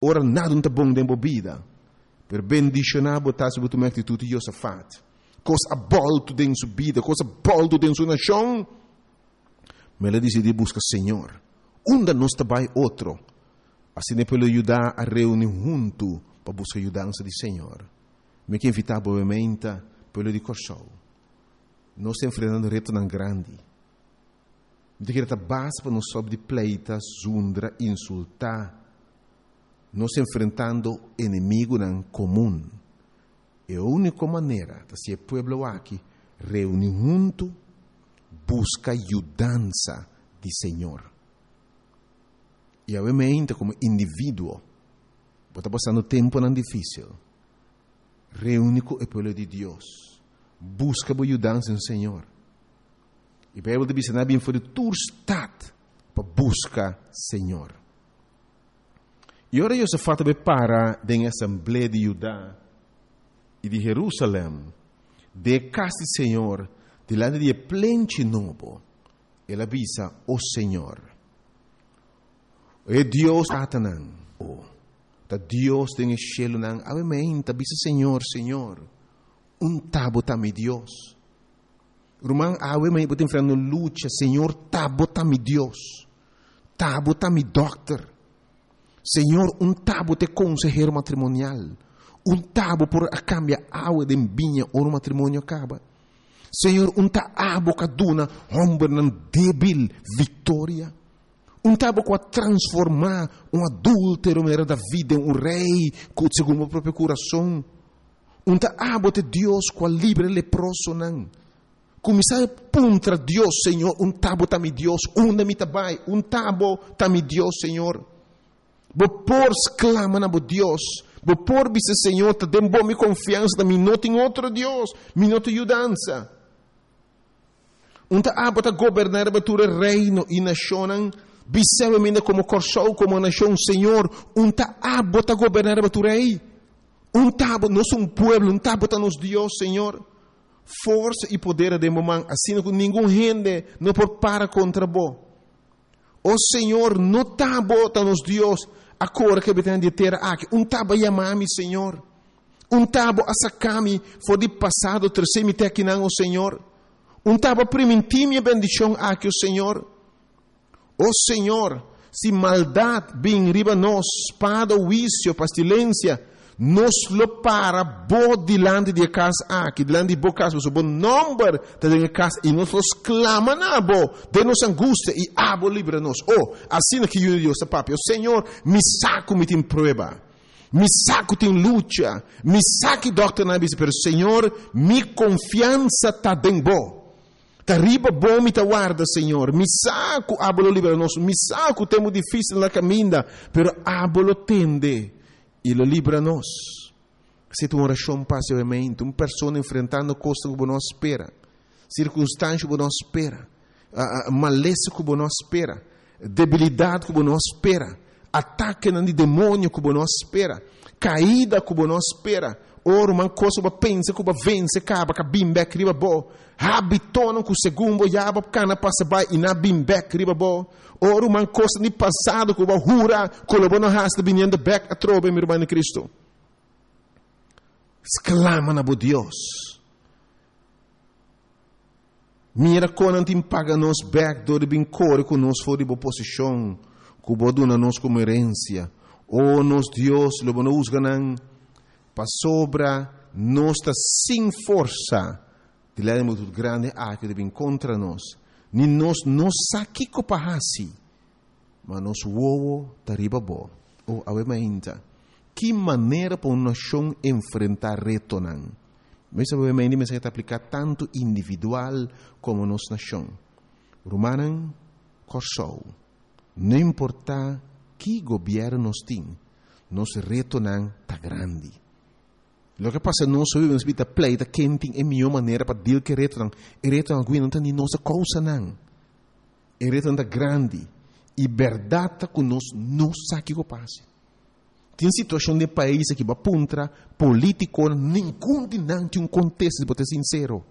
Ora nada no ta bon den bo bida, pero bendishoná bo ta si bo tuma e aktitut di Josafat. Kos a bòltu den su bida, kos a bòltu den su nashon. Ma el a disidí buska Señor. Unda nos ta bai otro? Asina e pueblo di Judá a reuní huntu pa buska yudansa di Señor. Mi ke invitá bo meinta, pueblo di Kòrsou. Nos ta enfrentando retonan grandi. Mi ta kere ta basta pa nos stòp di pleita, zundra, insultá. Nos ta enfrentando enemigunan komun. E úniko manera ta si e pueblo aki reuní huntu, buska yudansa di Señor. I awe meinta komo individuo bo ta pasando tempunan difísil, reuní ku e pueblo di Dios, buska bo yudansa den Señor. E Bijbel ta bisa nan a bin for di tur stad pa buska Señor. I ora Josafat a bai para den e asamblea di Judá i di Jerusalem, den e kas di Señor, dilanti di e plenchi nobo, el a bisa, O Señor, e Dios tatanan, o ta Dios den e shelunan, awe meinta bisa Señor, Señor, un ta bo ta mi Dios. Ruman, awe mi bo ta enfrentando lucha, Señor, ta bo ta mi Dios. Ta bo ta mi dokter. Señor, un ta bo ta e konsehero matrimonial. Un ta bo por a kambia awe den biña ora un matrimonio kaba. Señor, un ta abo ka duna hombernan débil viktoria. Un ta abo ku a transformá un adúltero manera David den un rei ku segun bo propio kurason. Un ta abo te Dios ku a libra e leprosonan. Kuminsá puntra Dios, Señor, un ta bo ta mi Dios? Unda mi ta bai? Un ta bo ta mi Dios, Señor? Bo por sklama na bo Dios. Bo por bisa, Señor, ta den bo mi konfiansa ta, mi no tin otro Dios, mi no tin yudansa. Un ta abo ta goberná riba tur e reino i nashonnan? Bis'é mi komo Kòrsou, komo nashon, Señor, un ta abo ta goberná riba tur ei? Un ta abo, nos un pueblo, un ta abo ta nos Dios, Señor. Forsa i poder a den bo man, asina ku ningun hende no por para kontra bo. O Señor, no ta bo ta nos Dios, a kore ku e habitantenan di e tera aki. Un ta bo a yama mi, Señor. Un ta bo a saka mi for di pasado, trese mi te akinan, o Señor. Un ta bo a primintí mi e bendishon aki, o Señor. O Señor, si maldat bin riba nos, spada, huisio, pastilensia, nos lo para bo dilanti di e kas aki, dilanti di bo kas, pasobra bo nòmber ta den e kas, i nos lo sklama na bo den nos angustia, i abo libra nos. O, asina ki Yu di Dios ta papia. O Señor, mi sa ku mi tin prueba. Mi sa ku tin lucha. Mi sa ki dòkternan a bisa, pero Señor, mi konfiansa ta den bo. Ta riba bo mi ta warda, Señor. Mi sa ku abo lo libra nos. Mi sa ku tempu difísil na kaminda, pero abo lo tende i lo libra nos. Esei ta un orashon pasivamente. Un persona enfrentando kosnan ku bo no a spera, sirkunstansha ku bo no a spera, malesa ku bo no a spera, debilidat ku bo no a spera, atakenan di demonio ku bo no a spera, kaida ku bo no a spera. O ruman, kos ku bo a pensa ku bo a vense kaba ka bin bèk riba bo. Hábitonan ku segun bo ya bo kana pasa bai i nan a bin bèk riba bo. O ruman, kosnan di pasado ku bo a hura ku lo bo no hasi ta biniendo bèk atrobe, mi ruman di Kristu. Sklama na bo Dios. Mira kon nan tin paga nos bèk dor di bin kore ku nos for di bo posishon ku bo a duna nos komo herensia. O nos Dios, lo bo no husga nan, pasobra nos ta sin forsa dilanti di multitut grandi aki ku ta bin kontra nos, ni nos no sa kiko pa hasi, ma nos wowo ta riba bo. O awe mainta, ki manera pa un nashon enfrentá retonan! Mester por mendi mester ta apliká tantu individual komo nos nashon. Rumannan Kòrsou, no importá ki gobièrnu nos tin, nos retonan ta grandi. Loke a pasa nos hopi nos bita pleita ken tin e mihó manera pa deal ku e retonan. E retonan algun no ta ni nos a kousa nan. E retonan ta grandi i bèrdat ta ku nos no sa kiko pasa. Tin situacion den pais aki bo a puntra politiconan ningun di nan tin un contesta si bo ta sincero.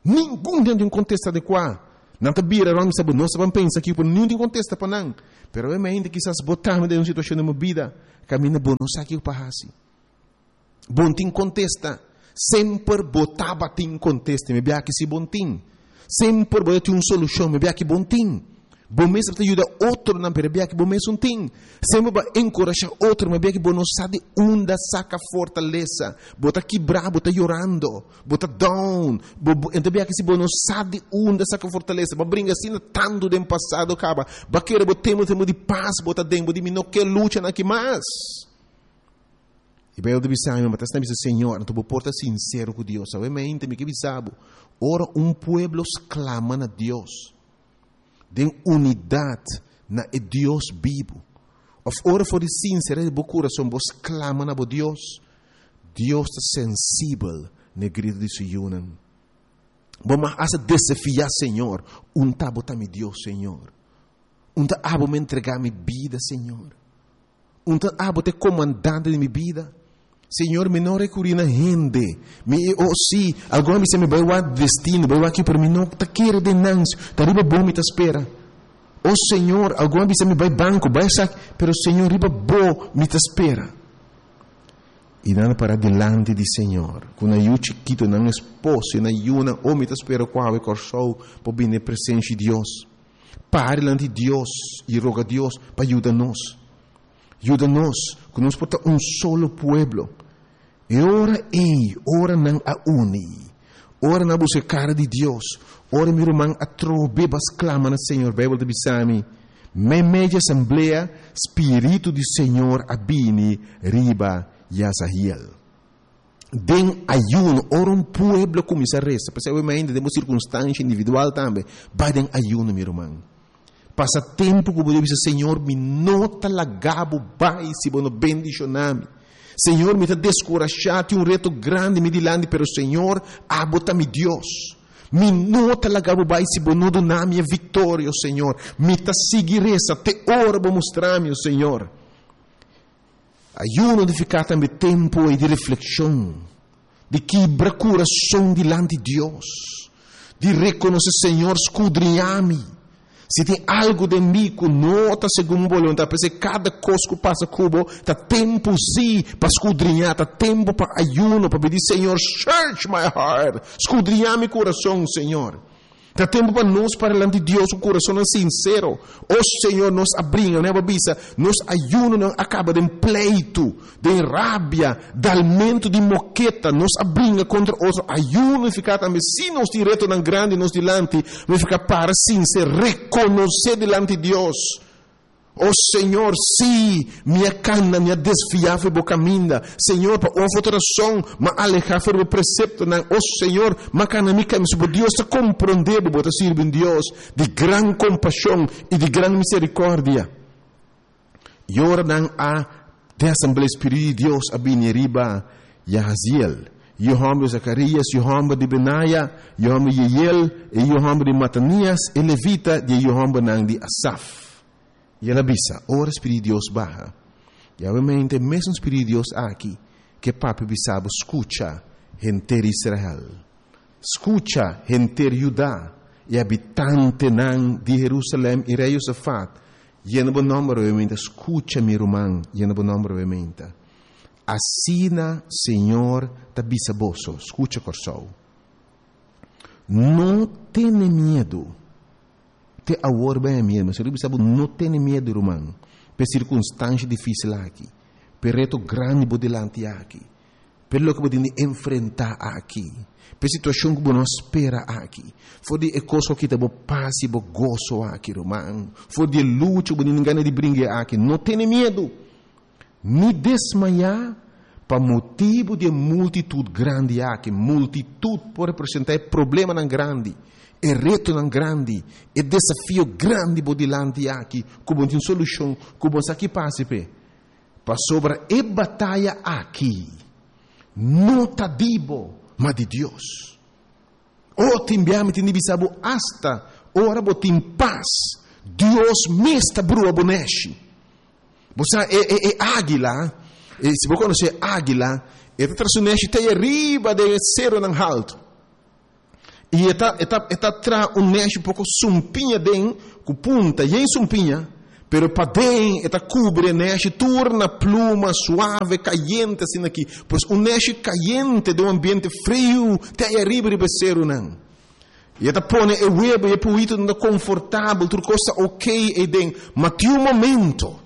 Ningun di nan tin un contesta adecua. Nan ta bira rond bisa bo nos ta ban pensa aki pero ningun tin contesta pa nan. Pero awe mainta kisas bo tambe den un situacion den bo bida. Kaminda bo no sa kiko pa hasi. Bo no tin kontesta. Semper bo tabatin kontesta, mi biaha ki si bo no tin. Semper bo ta tin un solushon, mi biaha ki bo no tin. Bo mes ta yuda otronan, pero e biaha ki bo mes no tin. Semper bo a enkurashá otro, ma e biaha ki bo no sa di unda saka fortalesa. Bo ta kibrá, bo ta yorando, bo ta down. Bo, bo, e ta biaha ki si bo no sa di unda saka fortalesa. Bo a bringa asina tantu den pasado kaba. Bo a kere bo tempu, tempu di pas bo ta den. Bo di mi no ke lucha nan aki mas. E Bijbel ta bisa mi, ma ta asina bisa Señor, anto bo por ta sincero cu Dios. Awe mente mi ke bisa bo, ora un pueblo sclama na Dios, den unidad na e Dios bibu, of ora for di sinceridad di bo curason bo sclama na bo Dios, Dios ta sensibel na e grito di su yunan. Bo mag hasta desafia Señor, un ta bo ta mi Dios, Señor. Un ta abo mi entrega mi bida, Señor. Un ta abo ta e komandante di mi bida. Señor, mi no recurí na hende. Mi, oh sí, algun a bisa mi bai wak destino, bai wak aki, pero mi no ta kere den nan. Ta riba bo mi ta spera. Oh Señor, algun a bisa mi bai banco, bai esaki, pero Señor, riba bo mi ta spera. I nan a para dilanti di Señor, ku nan yu chikito, nan esposo i nan yunan. Oh, mi ta spera ku awe Kòrsou por bini e presensia di Dios. Para dilanti di Dios i roga Dios pa yuda nos. Yuda nos ku nos por ta un solo pueblo. E ora ei, ora nan a uni, ora nan a buska e kara di Dios, ora mi ruman atrobe ba sklama na Señor, Beibel ta bisa mi, Meimei di asamblea, Spiritu di Señor a bini riba Yazahiel. Den ayuno, ora un pueblo kuminsá resa, p'esei awe mainta den bo sirkunstansha individual tambe, bai den ayuno, mi ruman. Pasa tempu ku bo debe bisa, Señor, mi no ta laga bo bai si bo no bendishoná mi. Señor, mi ta deskurashá, tin un reto grandi mi dilanti, pero Señor, abo ta mi Dios. Mi no ta laga bo bai si bo no duna mi e viktoria, o Señor. Mi ta sigui resa te ora bo mustra mi, o Señor. Ayuno nifiká tambe tempu ei di reflekshon, di kibra kurason dilanti Dios, di rekonosé, Señor, skudriñá mi. Si tin algu den mi ku no ta segun bo boluntat, p'esei kada kos ku pasa ku bo ta tempu sí pa skudriñá, ta tempu pa ayuno, pa pidi, Señor, search my heart, skudriñá mi kurason, Señor. Ta tempu pa nos para dilanti Dios ku kurasonnan sinsero. O Señor, nos a bringa, nan a bisa, nos ayunonan a kaba den pleitu, den rabia, dalmentu di moketa, nos a bringa kontra otro. Ayuno nifiká tambe si nos tin retonan grandi nos dilanti, nifiká para sinser, rekonosé dilanti Dios. O Señor, sí, mi a cana, mi a desviá for bo caminda. Señor, pa un of otro razón, m'a alehá for bo preceptonan. O Señor, m'a cana mi camino. Si bo Dios ta comprendé bo, bo ta sirbi un Dios di gran compasion i di gran misericordia. I ora nan a den asamblea, Spiritu di Dios a bini riba Jahaziel, yu homber di Zacarías, yu homber di Benaya, yu homber di Jeiel, i yu homber di Matanias, e levita di e yu hombernan di Asaf. I el a bisa, Ora Spiritu di Dios baha, i awemente e mesun Spiritu di Dios aki ke papia bisa bo, Skucha, henter Israel, skucha, henter Juda, i habitantenan di Herusalèm i rei Josafat, yena bo nòmber awemente, skucha mi ruman, yena bo nòmber awemente. Asina Señor ta bisa boso, skucha Kòrsou, no tene miedu. Te awor ben e miedu. Mi a bisa bo no tene miedu ruman p'e sirkunstansha difísil aki, p'e reto grandi bo dilanti aki, p'e loke bo tin di enfrentá aki, p'e situashon ku bo no a spera aki. For di e kos ku a kita bo pas i bo goso aki ruman, for di e lucha ku bo tin gana di bringa aki, no tene miedu, ni desmayá pa motibu di e multitut grandi aki. Multitut por representá e problemanan grandi, e retonan grandi, e desafio grandi bo dilanti aki ku bo no tin solushon, ku bo sa ki pasa p'e. Pasobra e bataya aki no ta di bo, ma di Dios. O, tin bia mi tin di bisa bo, asta ora bo tin pas, Dios mes ta brua bo nèshi. Bo sa e e e águila, e si bo konosé e águila, e ta tra su nèshi te ariba den e seronan haltu. I e ta e ta e ta tra un nèshi poko sumpiña den ku punta yen sumpiña, Pero paden e ta kubri e nèshi tur na pluma suave, kayente asina aki. Pues un nèshi kayente den un ambiente friu te ei ariba riba e serunan. I e ta pone e webu i e puitunan ta konfortabel, tur kos ta okey ei den. Ma tin un momento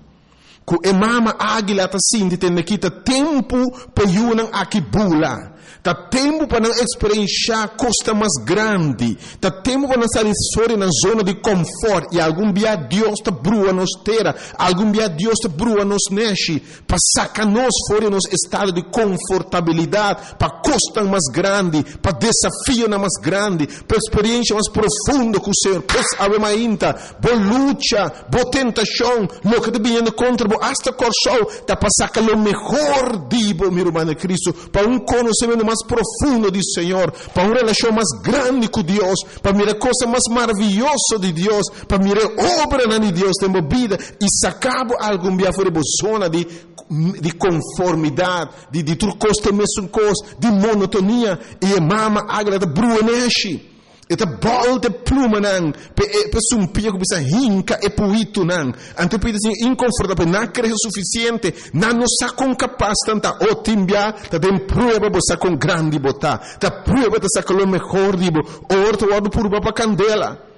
ku e mama águila ta sinti tende ki ta tempu pa e yunan aki bula. Ta tempu pa nan eksperenshá kosnan mas grandi. Ta tempu pa nan sali for di nan zona di kòmfòrt. I algun bia Dios ta brua nos tera, algun bia Dios ta brua nos nèshi pa saka nos for di nos estado di konfortabilidat pa kosnan mas grandi, pa desafionan mas grandi, pa eksperensha mas profundo ku Señor. Pues awe mainta, bo lucha, bo tentashon, loke ta biniendo kontra bo, asta Kòrsou, ta pa saka lo mehor di bo, mi ruman den Kristu. Pa un konosementu mas profundo di Señor, pa un relashon mas grandi ku Dios, pa mira kosnan mas maravioso di Dios, pa mira e obranan di Dios den bo bida i saka bo algun bia for di bo zona di di konformidat, di di tur kos ta e mesun kos, di monotonia, i e mama águila ta brua neshi. E ta bòlta e plumanan pa e pa e sumpia ku bisa hinka e puitunan. Anto e puitu ta sinti inkonfortabel, nan a krese sufisiente, nan no sa kon kapas nan ta. O tin bia ta den prueba bo sa kon grandi bo ta. Ta prueba ta saka lo mehor di bo. Ora ta wòrdu purba pa kandela.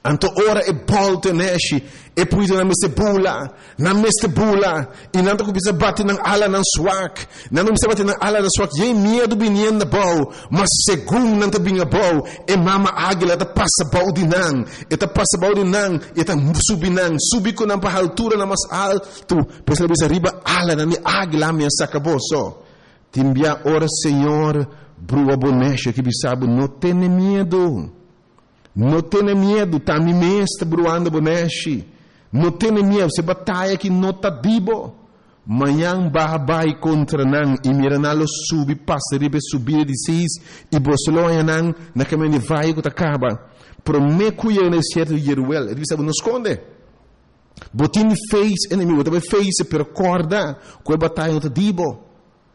Anto ora e bòlta e nèshi, e puitunan mester bula. Nan mester bula, i nan ta kuminsá bati nan alanan swak. Nan ta kuminsá bati nan alanan swak, yei miedu biniendo abou. Ma segun nan ta bini abou, e mama águila ta pasa bou di nan. E ta pasa bou di nan, i e ta subi nan, subi ku nan pa halturanan mas altu. Pues el a bisa, Riba alanan di águila mi a saka boso. Tin bia ora Señor brua bo nèshi aki bisa bo, No tene miedu. No tene miedu, ta mi mes ta bruando bo nèshi. No tene miedu, se bataya aki no ta di bo. Mañan baha bai kontra nan i mira nan lo subi pasa riba e subida di Sis i boso lo haña nan na kaminda di vaye ku ta kaba. Promé ku yega na desierto di Jeruel, e ta bisa bo, No skonde. Bo tin di face enemigu, bo ta bai face, pero kòrda ku e bataya no ta di bo.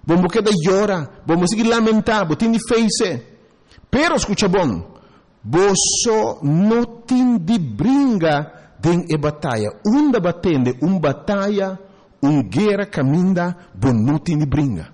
Bo no keda yora, bo no sigui lamentá, bo tin di face. Pero skucha bon, boso no tin di bringa den e bataya. Unda bo a tende un bataya, un guera kaminda bo no tin di bringa?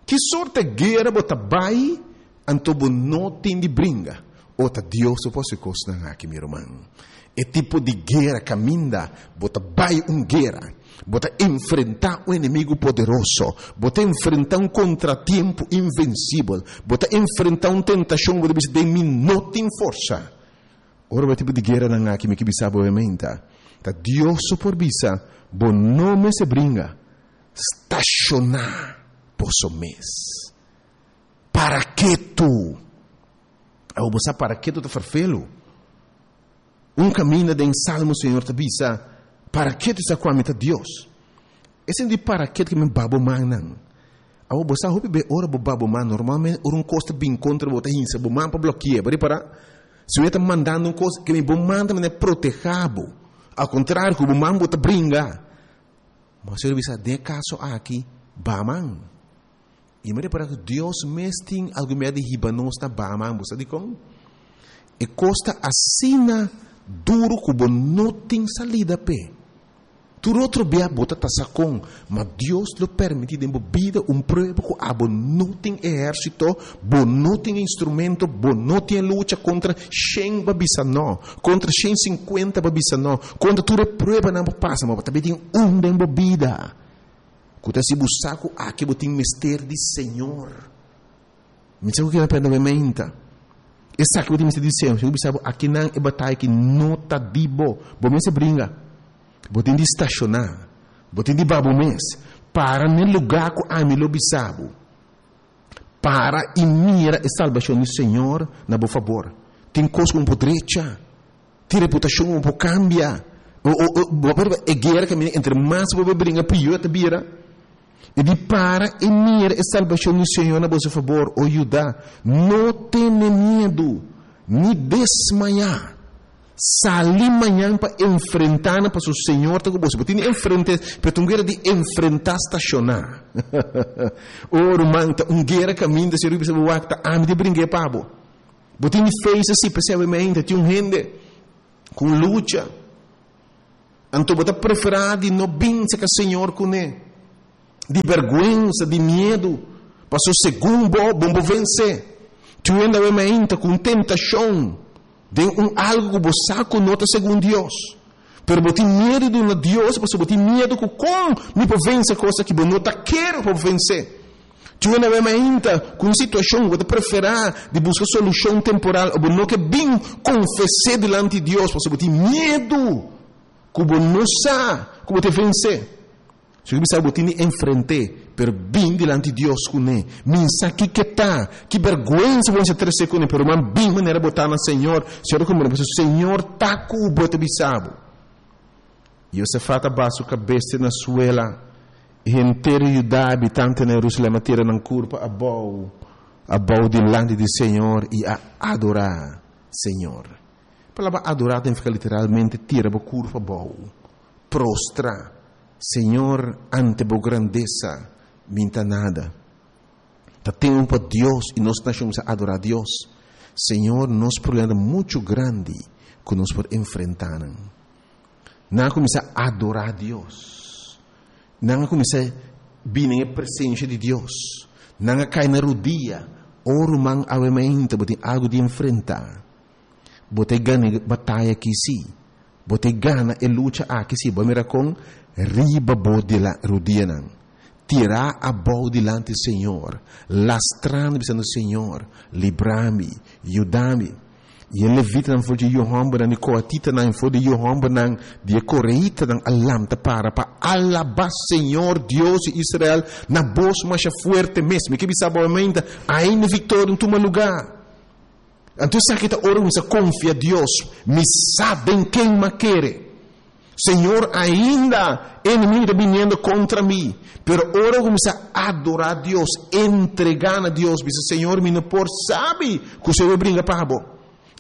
Ki sorte guera bo ta bai anto bo no tin di bringa? O ta Dios bo por hasi kosnan aki, mi ruman. E tipo di guera kaminda bo ta bai un guera. Bo ta enfrentá un enemigu poderoso. Bo ta enfrentá un kontratiempo invensibel. Bo ta enfrentá un tentashon ku bo ta bisa, Den mi no tin forsa. Ora bo e tipo di gueranan aki, mi ke bisa bo menta, ta Dios so por bisa, Bo no mester bringa. Stashoná boso mes. Para ketu. Awor bo sa para ketu ta ferfelu. Un kaminda den Salmo Señor ta bisa, Para ketu sa ku ami ta Dios. E sentí para ketu ke mi ba bo mannan. Awor bo sa hopi be ora bo ba bo man, normalmente ora un kos ta bin kontra bo ta hinsa bo man pa bloki'é. Bo ripará? Si bo ta mandando un kos, ke mi bo man ta manera protehá bo. Al kontrario ku bo man bo ta bringa. Ma Señor a bisa, den e kaso aki, ba man. I mi repará ku Dios mes tin algun mea di hiba nos na Bahaman. Bo sa dikon? E kos ta asina duru ku bo no tin salida p'e. Tur otro bia bo ta tasa kon, ma Dios lo permití den bo bida un prueba ku abo no tin ehérsito, bo no tin instrumento, bo no tin e lucha kontra shen bo a bisa no, kontra shen sinkuenta bo a bisa no, kontra tur e pruebanan bo pasa, ma bo ta bin tin un den bo bida. Ku ta si bo sa ku aki bo tin mester di Señor. Mi sa ku kila penda mi menta. Esaki bo tin mester di Señor. Señor bisa bo akinan e bataya ki no ta di bo. Bo mester bringa. Bo tin di stashoná. Bo tin di ba bo mes. Para n'e lugá ku ami lo bisa bo. Para i mira e salbashon di Señor na bo fabor. Tin kos ku bo por drecha. Tin reputashon ku bo por kambia. Bo por e guera kaminda entre mas bo por bringa pió ta bira. I di para i mira e salbashon di Señor na boso fabor, o Judá. No tene miedu, ni desmayá. Sali mañan pa enfrentá nan, pasobra Señor ta ku boso. Bo tin di enfrent'é, pero ta un guera di enfrentá stashoná. O ruman, ta un guera kaminda Señor bisa bo wak, ta ami di bring'é pa bo. Bo tin di face si, p'esei awe mainta tin un hende ku un lucha. Anto bo ta preferá di no bin serka Señor kuné. Di bèrgwensa, di miedu, paso segun bo, bo no por vensé. Tur hende awe mainta ku un tentashon den un algu ku bo sa ku no ta segun Dios. Pero bo tin miedu di duna Dios pasobra bo tin miedu ku kon mi por vense kos aki bo no ta kere pa bo vense. Tur hende awe mainta ku un situashon ku bo ta preferá di buska solushon temporal o bo no ke bin konfes'é dilanti Dios pasobra bo tin miedu ku bo no sa ku bo ta vense. Si bo bisa bo tin di enfrent'é, pero bin dilanti Dios kuné. Min sa kiko ta, ki bèrgwensa bo mester trese kuné, pero man bin manera bo ta na Señor. Señor ta kumprende, pasobra Señor ta ku bo, e ta bisa bo. Josafat a baha su kabes te na suela, i henter Judá habitante na Jerusalèm a tira nan kurpa abou, abou dilanti di Señor i a adorá Señor. E palabra adorá ta nifiká literalmente tira bo kurpa abou, prostra. Señor, ante bo grandesa mi ta nada. Ta tempu pa Dios i nos nashon kuminsá adorá Dios. Señor, nos problema ta muchu grandi ku nos por enfrentá nan. Nan a kuminsá adorá Dios. Nan a kuminsá bini den e presensia di Dios. Nan a kai na rudia. O ruman, awe mainta bo tin algu di enfrentá. Bo ta e gana e bataya aki sí. Bo ta e gana e lucha aki sí. Bo a mira kon riba bo rudianan, tirá abou dilanti Señor, lastrando bisando, Señor, libra mi, yuda mi. I e levitanan for dje yu hòmbernan di koatitanan i for di yu hòmbernan di e koreitanan a lanta para pa alabá Señor, Dios di Israel, na bos masha fuerte mes. Mi ke bisa bo awe, ainda viktoria no tuma lugá. Anto esaki ta ora mi sa konfia Dios, mi sa den ken m'a kere. Señor, ainda enemigo ta biniendo kontra mi, pero ora ku mi sa adorá Dios, entregá na Dios, bisa, Señor, mi no por sabi ku Señor bringa pa bo.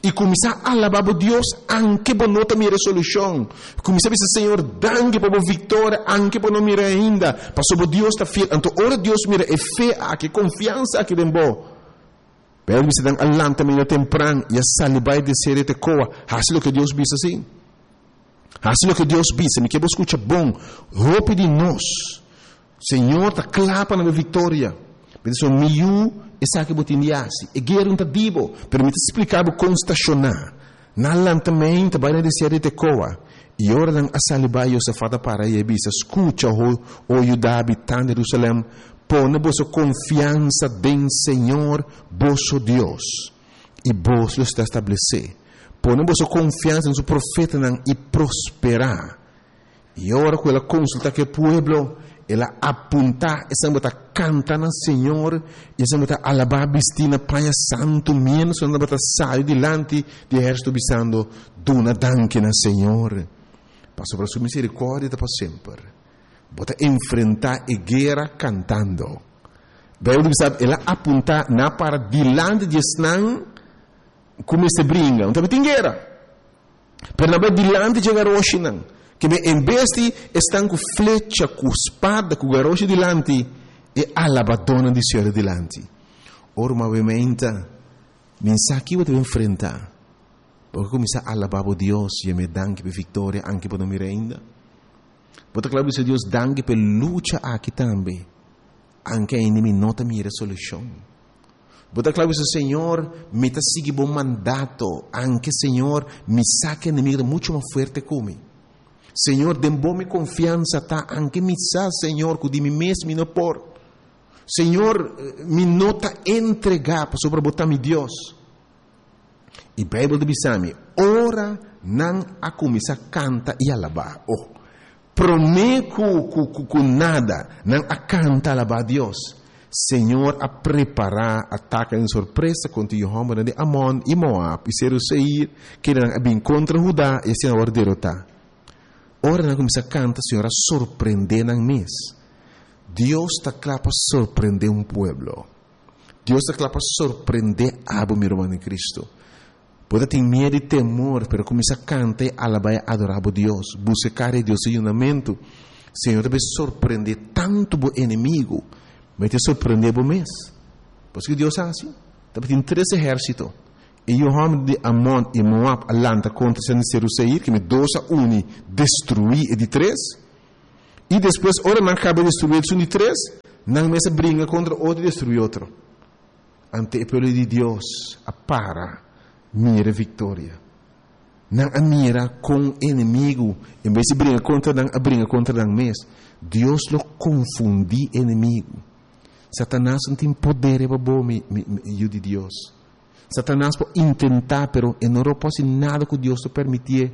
I kuminsá alabá bo Dios anke bo no ta mira e solushon. Kuminsá bisa, Señor, danki pa bo viktoria anke bo no mira ainda, pasobra bo Dios ta fiel. Anto ora Dios mira e fe aki, e konfiansa aki den bo, Pero bisa nan a lanta medio tempran i a sali bai desea di Tekoa. Hasi loke Dios bisa, sí. Hasi loke Dios bisa. Mi ke bo skucha bon. Hopi di nos, Señor ta kla pa nan e viktoria. Mi ta mi yu, esaki bo tin di hasi. E guera no ta di bo, pero mi ta splika bo kon stashoná. Nan a lanta meinta bai na desea di Tekoa. I ora nan a sali bai, Josafat a para i a bisa, Skucha, o Juda, habitan di Jerusalèm, pone boso konfiansa den señor boso Dios, i boso lo sta establesé. Pone boso konfiansa den su profetanan i prosperá. I ora ku el a konsultá ku e pueblo, el a apuntá esnan ku ta kanta na Señor i esnan ku ta alabá bistí na paña santu, miéntras ku nan tabata sali dilanti di ehérsito bisando, Duna danki na Señor, pasobra su miserikòrdia ta pa semper. Bo ta enfrentá e guera kantando. Beibel ta bisa, El a apuntá nan para dilanti di esnan ku mester bringa. No tabatin guera. Pero nan bai dilanti dje garoshinan, ke men en bes di esnan ku flecha, ku spada, ku garoshi dilanti, e alabadónan di Señor ta dilanti. Ora bo a bai meinta, mi sa ki bo ta bin enfrentá. Bo a kuminsá alabá bo Dios, yam'é danki pa e viktoria, anke bo no mira ainda. Bo ta kla bisa Dios danki pa e lucha aki tambe, anke ainda mi no ta mira e solushon. Bo ta kla bisa, Señor, mi ta sigui bo mandato, anke, Señor, mi sa ku enemigu ta muchu mas fuerte ku mi. Señor, den bo mi konfiansa ta, anke mi sa, Señor, ku di mi mes mi no por. Señor, mi no ta entregá, pasobra bo ta mi Dios. I Beibel ta bisa mi, ora nan a kuminsá kanta i alabá, oh, promé ku ku ku nada, nan a kanta alabá Dios. Señor a prepará atake den sorpresa kontra yu hòmbernan di Amon i Moab i Seru Seir, kendenan a bin kontra Hudá i asina a wòrdu derotá. Ora nan a kuminsá kanta, Señor a sorprendé nan mes. Dios ta kla pa sorprendé un pueblo. Dios ta kla pa sorprendé abo, mi ruman den Cristo. Bo ta tin miedu i temor, pero kuminsá kanta i alabá i adorá bo Dios. Buska kara di Dios su yunamentu. Señor ta bai sorprendé tantu bo enemigu, ma e ta sorprendé bo mes. Pasobra ki Dios a hasi? Tabatin tres ehérsito. E yu hòmber di Amon i Moab a lanta kontra esnan di Seru Seir, ke mi dos a uni destruí e di tres. I despues, ora nan kaba di destruí esun di tres, nan mes a bringa kontra otro i destruí otro. Ante e pueblo di Dios a para mira e viktoria. Nan a mira kon enemigu, en bes di bringa kontra nan, a bringa kontra nan mes. Dios lo konfundí enemigu. Satanas no tin poder riba bo, mi, mi, mi yu di Dios. Satanas por intentá, pero e no lo por hasi nada ku Dios no permitié.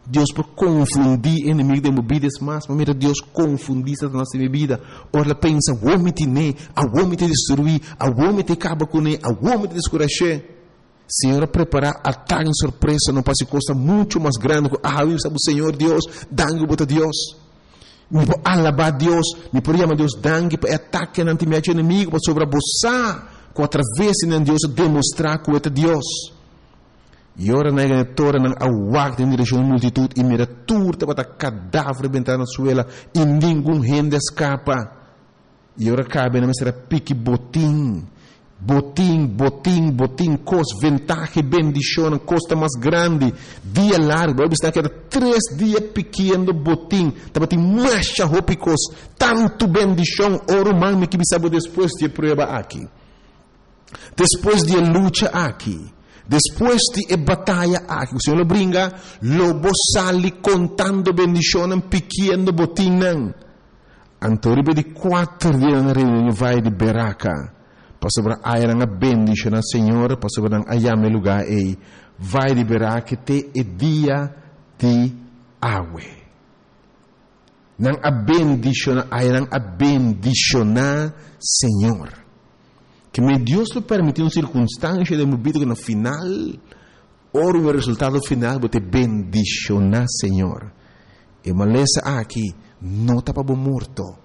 Dios por konfundí enemigu den bo bida. Es mas, mi a mira Dios konfundí Satanas den mi bida. Ora el a pensa, Awor mi tin'é, awor mi ta destruí, awor mi ta kaba kuné, awor mi ta deskurash'é. Señor a prepará atake en sorpresa no pa hasi kosnan muchu mas grandi ku awe. Mi sa bo Señor Dios, danki ku bo ta Dios. Mi por alabá Dios, mi por yama Dios danki pa e atakenan tin mi hachi enemigu, pasobra bo sa ku atraves di nan Dios a demostrá ku e ta Dios. I ora nan yega na e toren, nan a wak den direkshon di multitut i mira tur tabata kadaver bentá na suela i ningun hende a skapa. I ora kabe nan mester a piki botin, botin, botin, botin, kos, ventaha i bendishonnan, kos ta mas grandi, dia largu. Bo a bisa nan keda tres dia pikiendo botin, tabatin masha hopi kos, tantu bendishon. O ruman, mi ke bisa bo despues di e prueba aki. Despues di e lucha aki, despues di e bataya aki ku Señor lo bringa, lo bo sali kontando bendishonnan, pikiendo botinnan. Anto riba di kuater dia nan a reuni den e vaye di Beraka, pasobra aya nan a bendishoná Señor, pasobra nan a yama e lugá ei Vaye di Beraka te e dia di awe. Nan a bendishoná, aya nan a bendishoná Señor. Ke men Dios lo permití un sirkunstansha den bo bida ku na final, ora un resultado final, bo ta bendishoná Señor. E malesa aki no ta pa bo morto,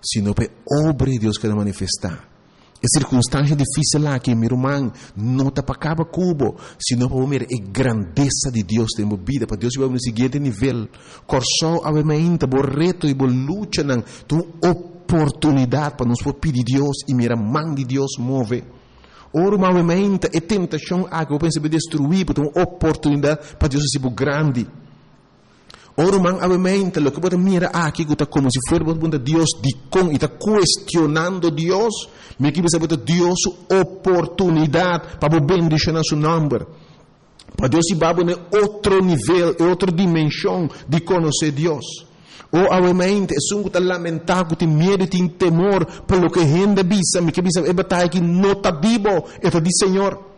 sino pa e obra di Dios keda manifestá. E sirkunstansha difísil aki, mi ruman, no ta pa kaba ku bo, sino pa bo mira e grandesa di Dios den bo bida, pa Dios hiba bo na e siguiente nivel. Kòrsou awe mainta, bo reto i bo luchanan ta un oportunidat pa nos por pidi Dios i mira man di Dios move. O ruman, awe mainta e tentashon aki bo pensa bo destruí bo ta un oportunidat pa Dios hasi bo grandi. O ruman, awemente loke bo ta mira aki ku ta komo si fuera bo ta puntra Dios dikon i ta kuestionando Dios, mi ke bisa bo ta Dios su oportunidat pa bo bendishoná su nòmber. Pa Dios hiba bo na e otro nivel, e otro dimenshon di konosé Dios. O awemente, esun ku ta lamentá, ku tin miedu i tin temor pa loke hende bisa, mi ke bisa bo e bataya aki no ta di bo, e ta di Señor.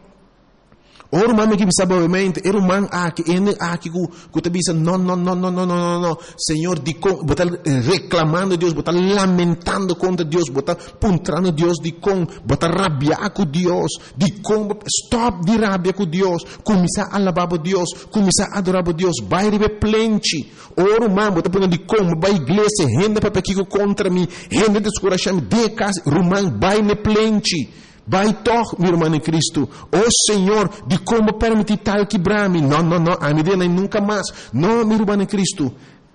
O ruman mi ke bisa bo mente, e ruman aki, e hende aki ku ku ta bisa no no no no no no no no, Señor dikon bo ta reklamando Dios, bo ta lamentando kontra Dios, bo ta puntrando Dios dikon, bo ta rabia ku Dios, dikon bo stòp di rabia ku Dios, kuminsá alabá bo Dios, kuminsá adorá bo Dios, bai riba e plenchi. O ruman bo ta puntra dikon bo bai iglesia, hende papia kiko kontra mi, hende deskurashá mi, den e kas, ruman bai na e plenchi. Bai tòg, mi ruman den Kristu. O Señor, dikon bo pèrmití tal kibrá mi? No, no, no, ami den ei nunka mas. No, mi ruman den Kristu.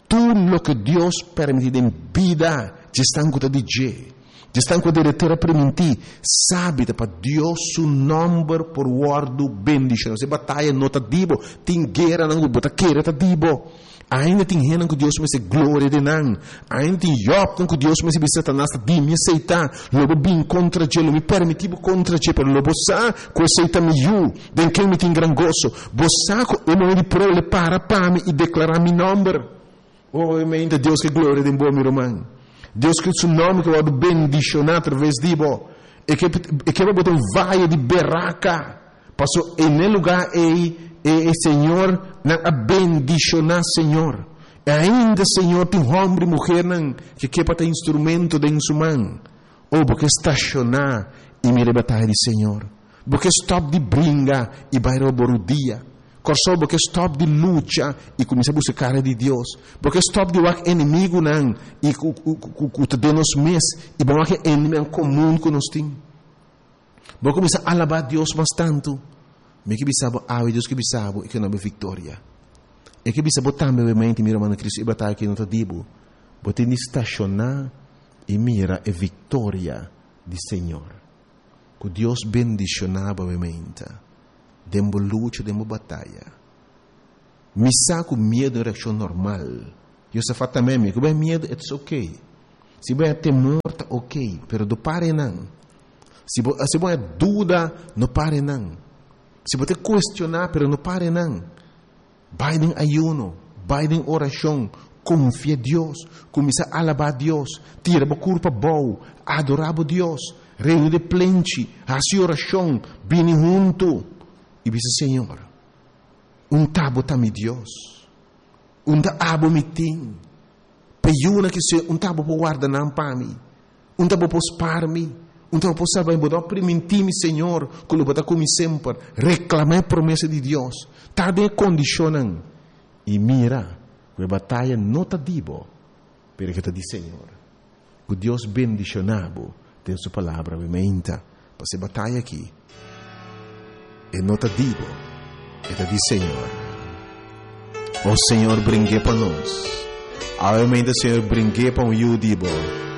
Tur loke Dios pèrmití den bida djesnan ku ta di dje, djesnan ku a dere tera primintí, sabi ta pa Dios su nòmber por wòrdu bendishoná. E bataya no ta di bo. Tin gueranan ku bo ta kere ta di bo. Ainda tin hendenan ku Dios mester gloria den nan. Ainda tin yòpnan ku Dios mester bisa Satanas ta di mi esei ta. Lo bo bin kontra dje, lo mi permití bo kontra dje, pero lo bo sa ku esei ta mi yu, den ken mi tin gran goso. Bo sa ku e momento di prueba lo e para pa mi i deklará mi nòmber. O, ainda Dios ke gloria den bo, mi ruman. Dios ke su nòmber ke wòrdu bendishoná atraves di bo. E ke e ke pa bo ta un vaye di beraka. Paso e n'e lugá ei e e Señor nan a bendishoná Señor. E ainda Señor tin hòmber i muhernan ke ke pa ta instrumento den Su man. O bo ke stashoná i mira e bataya di Señor. Bo ke stòp di bringa i bai riba bo rudia. Kòrsou bo ke stòp di lucha i kuminsá buska kara di Dios. Bo ke stòp di wak enemigunan i ku ku ku ta den nos mes i bo wak e eneminan komun ku nos tin. Bo kuminsá alabá Dios mas tantu. Mi ke bisa bo awe, Dios ke bisa bo, i ke duna bo viktoria. E ke bisa bo tambe, obviamente, mi ruman na Kristu, e bataya aki no ta di bo. Bo tin di stashoná i mira e viktoria di Señor. Ku Dios bendishoná bo, obviamente. Den bo lucha, den bo bataya. Mi sa ku miedu ta un reakshon normal. Josafat tambe mi ku bo miedu, it's okay. Si bo temor, ta okay, pero no para nan. Si bo duda, no para nan. Si bo te kuestioná, pero no para nan. Bai den ayuno, bai den orashon, konfia Dios, kuminsá alabá Dios, tira bo kurpa abou, adorá Dios, reuní den plenchi, hasi orashon, bini huntu i bisa Señor, n' t'abo ta mi Dios, n' t'abo mi tin, peyuna ku se n' t'abo por warda nan pa mi, n' t'abo por spar mi, n' t'abo por salba mi, bo a primintí mi Señor, ku lo bo ta ku mi semper, reklamá e promesa di Dios, ta den kondishonnan, i mira, ku e bataya no ta di bo, pero ku ta di Señor. Ku Dios bendishoná bo den su palabra mi menta, pa e bataya aki, e no ta di bo, e ta di Señor. O Señor, bring'é pa nos. Obviamente, Señor, bring'é pa un yu di bo.